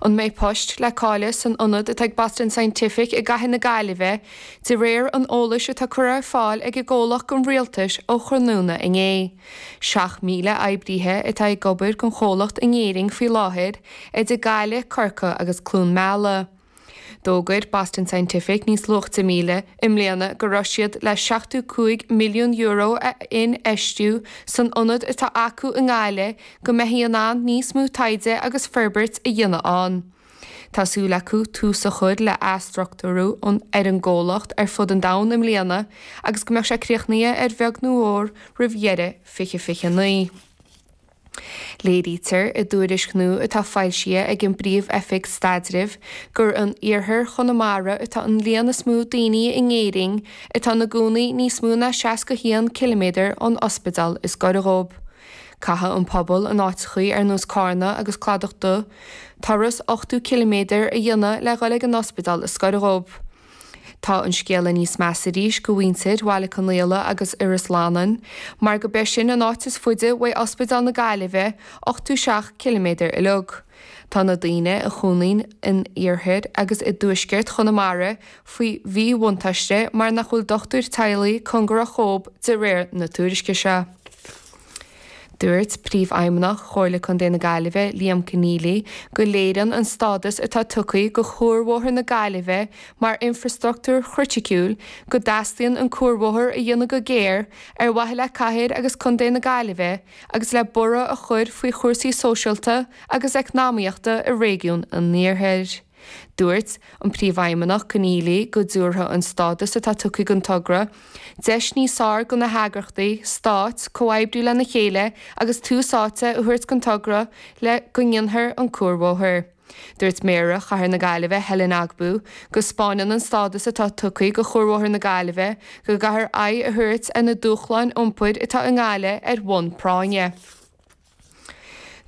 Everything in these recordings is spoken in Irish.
An mbeidh poist le cailleadh san ionad atá ag Boston Scientific i gcathair na Gaillimhe, de réir an eolais atá curtha ar fáil ag an gcomhlacht don Rialtas ó thráthnóna inné. 7,000 oibríthe atá ag obair don chomhlacht in Éirinn faoi láthair, idir Gaillimh, Corcaigh agus Cluain Meala. D'fhógair Boston Scientific níos luaite i mbliana go raibh siad le €75 milliún a infheistiú san ionad atá acu i nGaillimh go mbeifí in ann níos mó taighde agus forbairt a dhéanamh ann. Tá súil acu tús a chur le athstruchtúrú ar an gcomhlacht ar fud an domhain i mbliana agus go mbeadh sé críochnaithe ar bheag nó mhór roimh dheireadh 2029. Léirítear i dtuairisc nua atá foilsithe ag an bPríomh-Oifig Staidrimh gur in iarthar Chonamara atá an líon is mó daoine in Éirinn atá ina gcónaí níos mó ná 61 ciliméadar ón ospidéal is gaire dhóibh. Caithfidh an pobal in áiteachaí ar nós Cárna agus Cladach Dubh turas 80 ciliméadar a dhéanamh le dhul ag an ospidéal is gaire dhóibh. Tá an scéala níos measa arís go mhuintir Bhaile Conaola agus Iorras Fhlannáin, mar go b'é sin an áit is faide uaidh Ospidéal na Gaillimhe, 87 ciliméadar uileag. Tá na daoine a chónaíonn in iarthar agus i dtuaisceart Chonamara faoi mhíbhuntáiste mar nach bhfuil dochtúir teaghlaigh cóngarach dhóibh de réir na tuairisce seo. Dúirt Príomhfheidhmeannach Chomhairle Contae na Gaillimhe, Liam Conneely, go léiríonn an stádas atá tugtha go Chuarbhóthar na Gaillimhe mar infreastruchtúr chriticiúil go dteastaíonn an cuarbhóthar a dhéanamh go géar ar mhaithe le cathair agus contae na Gaillimhe agus le borradh a chur faoi chúrsaí sóisialta agus eacnamaíochta i réigiún an Iarthair. Dúirt an Príomhfheidhmeannach Conneely go dtabharfadh an stádas atá tugtha don togra deis níos fearr do na heagraíochtaí stáit comhoibriú lena chéile agus tús áite a thabhairt don togra le go ndéanfar an cuarbhóthar. Dúirt Méara Chathair na Gaillimhe Helen Ogbu go 'spáineann an stádas atá tugtha do Chuarbhóthar na Gaillimhe go gcaithfear aghaidh a thabhairt ar na dúshláin iompair atá i nGaillimh ar bhonn práinne'.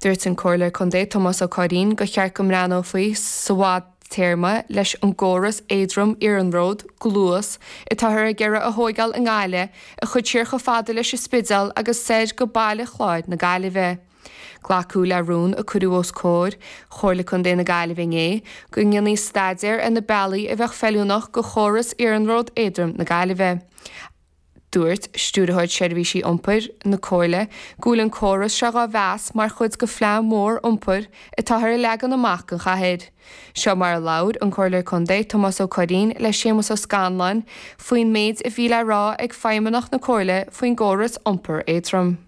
Dúirt an Comhairleoir Contae Tomás Ó Curraoin gur cheart go mbreathnófaí sa bhfadtéarma leis an gcóras éadrom iarnróid, Gluas, atáthar ag iarraidh a thóigeáil i nGaillimh a chur siar chomh fada leis an Spidéal agus soir go Baile Chláir na Gaillimhe. Glacadh le rún a cuireadh os comhair Chomhairle Contae na Gaillimhe inné go ndéanfaí staidéar ar na bealaí a bheadh feiliúnach do chóras iarnród éadroim na Gaillimhe. Dúirt Stiúrthóir Seirbhísí Iompair na Comhairle go bhfuil an córas seo dhá mheas mar chuid de phlean mór iompair atáthar a leagan amach don chathair. Seo mar a labhair an Comhairleoir Contae Tomás Ó Curraoin le Séamus Ó Scanláin faoin méid a bhí le rá ag feidhmeannach na Comhairle faoin gcóras iompair éadrom.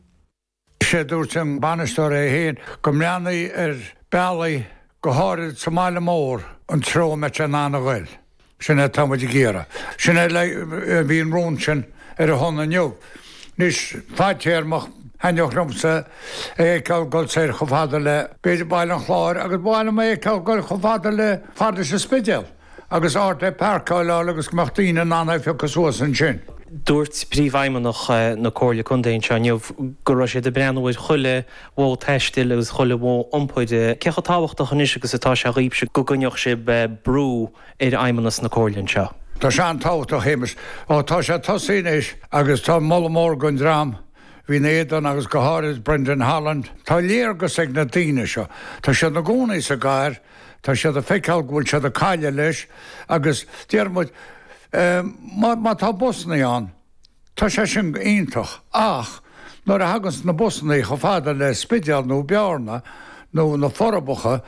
Is é a dúirt an bainisteoir é féin go mbreathnaí ar bealaí, go háirid sa mbaile mór, an treo a mbeadh sé in ann a ghoil. Sin é atá muid ag iarraidh. Sin é a bhí an rún sin ar a shon inniu. Anois, fadtéarmach, thaitneodh liomsa é a fheiceáil ag dul soir chomh fada le, b'fhéidir, Baile an Chláir agus ba mhaith liom é a fheiceáil ag dul chomh fada le fad leis an Spidéal. agus áit le páirceáil a fháil agus go mbeadh daoine in ann é a phiocadh suas ansin. Dúirt Príomhfheidhmeannach na Comhairle Contae anseo inniu go raibh siad ag breathnú ar chuile mhodh taistil agus chuile mhodh iompair. Cé chomh tábhachtach anois agus atá sé dhaoibhse go gcoinneodh sibh brú ar Fheidhmeannas na Comhairle anseo? Tá sé an-tábhachtach, a Shéamais. Ó, tá sé tosaithe anois agus tá moladh mór don dream a bhí ina éadan agus go háirid Brendan Holland. Tá léargas ag na daoine seo. Tá siad ina gcónaí sa gcathair. Tá siad ag feiceáil go bhfuil siad ag cailleadh leis agus deir muid, má tá busannaí ann, tá sé sin iontach ach nuair a thaganns na busannaí chomh fada le Spidéal nó Bearna nó na Forbacha,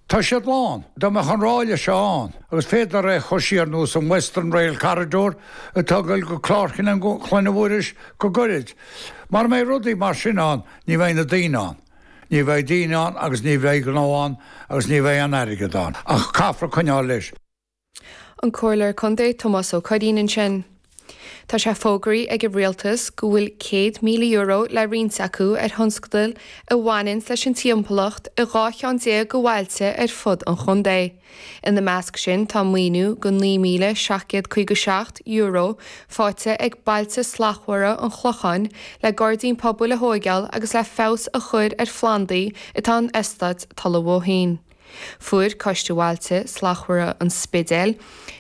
tá siad lán. Dá mbeadh an ráille seo ann agus féadtar é a chur siar nós an Western Rail Corridor atá ag dul go Clár Chlainne Mhuiris go gairid. Mara mbeidh rudaí mar sin ann, ní bheidh na daoine ann. Ní bheidh daoine ann agus ní bheidh gnó ann agus ní bheidh aon airgead ann. Ach caithfear coinneáil leis. An Comhairleoir Contae Tomás Ó Curraoin ansin. Tá sé fógraithe ag an Rialtas go bhfuil €100,000 le roinnt acu ar thionscadail a bhaineanns leis an timpeallacht i 12 cheann de bhailte ar fud an chontae. Ina measc sin tá maoiniú de €9,757 faighte ag Bailte Slachtmhara an Chlocháin le gairdín pobail a thóigeáil agus le feabhas a chur ar phlandaí atá in eastát Tulach Bhóithín. Fuair Coiste Bhailte Slachtmhara an Spidéil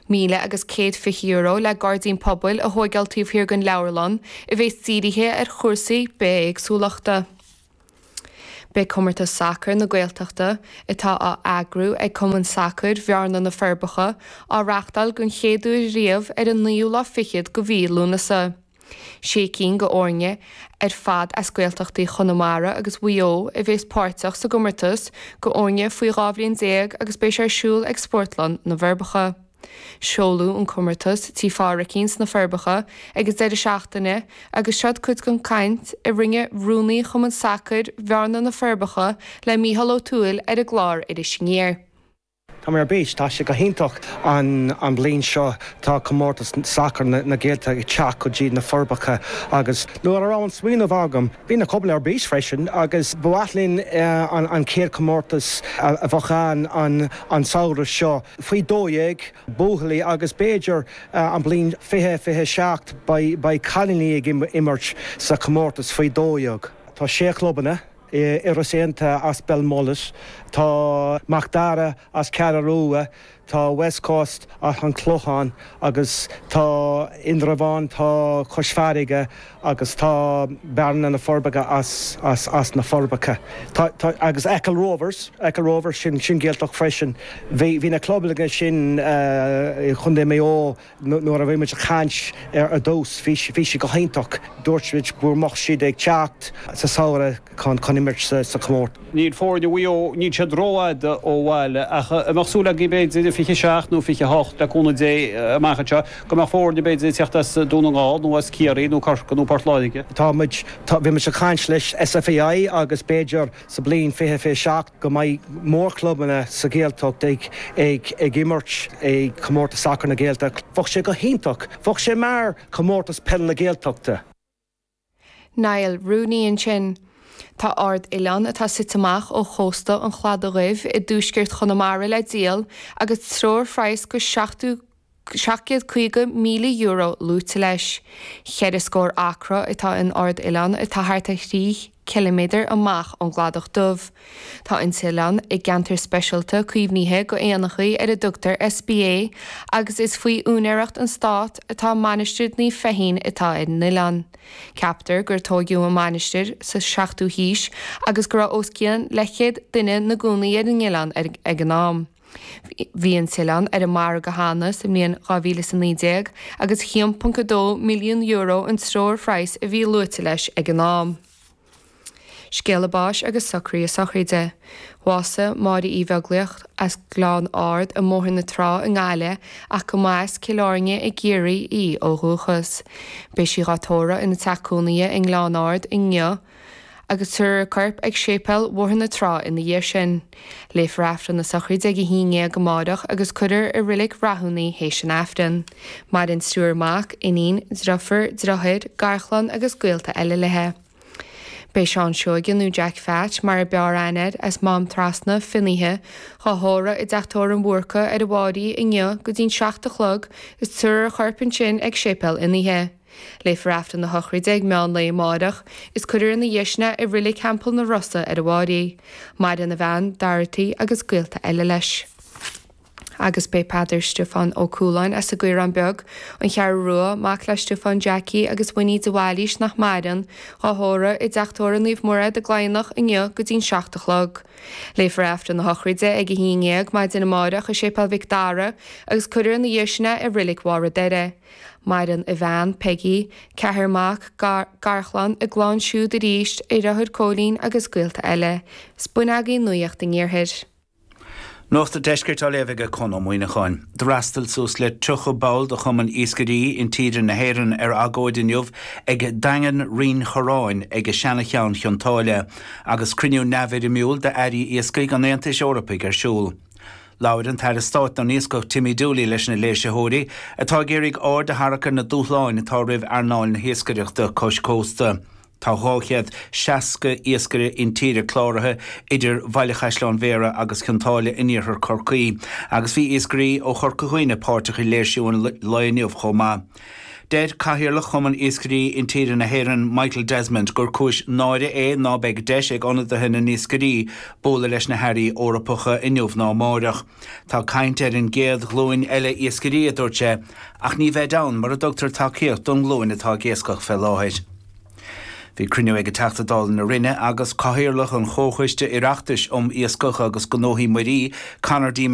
€1,120 le gairdín pobail a thóigeáil taobh thiar den leabharlann a bheas dírithe ar chúrsaí bithéagsúlachta. Beidh Comórtas Sacair na Gaeltachta, atá á eagrú ag Cumann Sacair Bhearna-Na Forbacha, á reachtáil den chéad uair riamh ar an naoú lá fichead de mhí Lúnasa. Sé cinn de fhoirne ar fad as Gaeltachtaí Chonamara agus Mhaigh Eo a bhéas páirteach sa gcomórtas do fhoirne faoi 12 bhliain agus beidh sé ar siúl ag Spórtlann na bhForbacha. Seoladh an comórtas Tí Phádhraicín sna Forbacha ag an deireadh seachtaine agus seod cuid den chaint a rinne rúnaí Chumann Sacair Bhearna-Na Forbacha le Mícheál Ó Tuathail ar an gclár Iris Aniar. Tá mé ar bís, tá sé go hiontach an bliain seo tá comórtas sacair na Gaeltachta ag teacht go dtí na Forbacha agus nuair a raibh an smaoineamh agam bhí na clubanna ar bís freisin agus ba mhaith linn an chéad chomórtas a bheadh ann an samhradh seo faoi 12, buachaillí agus b'fhéidir an bliain 2027 beidh cailíní ag imirt sa chomórtas faoi 12. Tá sé chlubanna. Iorras Aontaithe as Belmullet, tá Mac Dara as Ceathrú Rua, tá West Coast as an Clochán agus tá Indreabhán, tá Cois Farraige agus tá Bearna na Forbacha as as na Forbacha. Tá tá agus Achill Rovers, Achill Rovers sin sin Gaeltacht freisin. Bhí bhí na clubanna sin i Chontae Maigh Eo Nuair a bhí muid ag caint ar dtús, bhí sé go hiontach. Dúirt muid go mbeadh siad ag teacht sa samhradh chun imirt sa chomórtas. Níl foirne Mhaigh Eo, níl siad rófhada ó bhaile ach an mbeadh súil agaibh b'fhéidir i 27 nó 28, le cúnamh Dé, amach anseo, go mbeadh foirne b'fhéidir ag teacht as Dún na nGall nó as Ciarraí nó Corcaigh nó Port Láirge? Tá muid, bhí muid ag caint leis SFAI agus b'fhéidir sa bliain 2027 go mbeidh mórchlubanna sa Ghaeltacht ag ag imirt i Comórtas Sacair na Gaeltachta. Bheadh sé go hiontach. Bheadh sé mar Chomórtas Peile na Gaeltachta. Niall Rooney ansin. Tá Ard Oileán atá suite amach ó chósta an Chladaigh Dhuibh i dtuaisceart Chonamara le díol agus treoirphraghas go €750,000 luaite leis. Cheithre scór acra atá in Ard Oileán atá thart ar thrí chiliméadar amach ón gCladach Dubh. Tá an t-oileán i gceantar speisialta caomhnaithe go éanachaí ar a dtugtar SPA agus is faoi úinéireacht an Stát atá Mainistir Naomh Feichín atá ar an oileán. Ceaptar gur tóigeadh an mhainistir sa 7ú haois agus go raibh os cionn leathchéad duine 'na gcónaí ar an oileán ag an am. Bhí an t-oileán ar an margadh cheana sa mbliain 2019 agus €1.2 milliún an treoirphraghas a bhí luaite leis ag an am. Scéala báis agus socruithe sochraide. Bhásaigh Máire Uí Bheaglaoich as Gleann Ard i mBóthar na Trá i nGaillimh ach go mba as Cill Airne i gCiarraí í ó dhúchas. Beidh sí dhá tórramh ina teach cónaithe i nGleann Ard inniu. agus tabharfar a corp ag Séipéal Bhóthar na Trá ina dhiaidh sin. Léifear Aifreann na sochraide ag 11 amáireach agus cuirfear i Reilig Rathún í théis an Aifrinn. Maireann triúr mac, iníon, driofúr, driotháir, garchlann agus gaolta eile léi. Beidh Seán Seoige nó Jack Pheait mar a b'fhearr aithne air as Mám Trasna, Finnaithe, dhá thórramh i dTeach Tórraimh an Bhúrca ar an bhFáirí inniu go dtí'n 7 a chlog is tabharfar a chorp ansin ag Séipéal Fhinnaithe. Léifear Aifreann na sochraide ag meán lae amáireach is cuirfear ina dhiaidh sin é i Reilig Theampall na Rosa ar an bhFáirí. Maireann a bhean, Dorothy, agus gaolta eile leis. Agus b'é Peadar Stiofán Ó Cualáin as an gCaorán Beag, An Cheathrú Rua, mac le Stiofán Jackie agus Winnie de Bhailís nach maireann, dhá thórramh i dTeach Tórraimh Naomh Mairéad i gCladhnach inniu go dtí'n 7 a chlog. Léifear Aifreann na sochraide ag 11 maidin amáireach i Séipéal Mhic Dara agus cuirfear ina dhiaidh sin é i Reilig Bharr an Doire. Maireann a bhean, Peggy, ceathrar mac, garchlann, a gclann siúd arís, a dheartháir Cóilín agus gaolta eile. 'S b'in agaibh Nuacht an Iarthair. Nuacht an Deiscirt á léamh aige Conn Ó Muíneacháin. D'fhreastail suas le 30 ball de Chumann Iascairí Intíre na hÉireann ar agóid inniu ag Daingean Rinn Chorráin ag Seana-Cheann Chionn tSáile agus cruinniú neamhfhoirmiúil d'Airí Iascaigh an Aontais Eorpaigh ar siúl. Labhair an tAire Stáit don Iascach Timmy Dooley leis na léirsitheoirí, atá ag iarraidh aird a tharrac ar na dúshláin atá roimh earnáil na hiascaireachta cois cósta. Tá 260 iascaire intíre cláraithe idir Bhaile Chaisleáin Bhéarra agus Cionn tSáile in iarthar Chorcaí agus bhí iascairí ó Chorca Dhuibhne páirteach i léirsiú an lae inniu chomh maith. Deir Cathaoirleach Chumann Iascairí Intíre na hÉireann, Michael Desmond, gur cúis náire é ná beidh deis ag ionadaithe na n-iascairí bualadh leis na hairí Eorpacha inniu ná amáireach. Tá caint ar an gcéad ghlúin eile iascairí, a dúirt sé, ach ní bheid ann mura dtugtar tacaíocht don nglúin atá ag iascach fé láthair. Bhí cruinniú ag Teachta Dála na Rinne agus Cathaoirleach an Chomhchoiste Oireachtais um Iascach agus Gnóthaí Muirí, Conor D.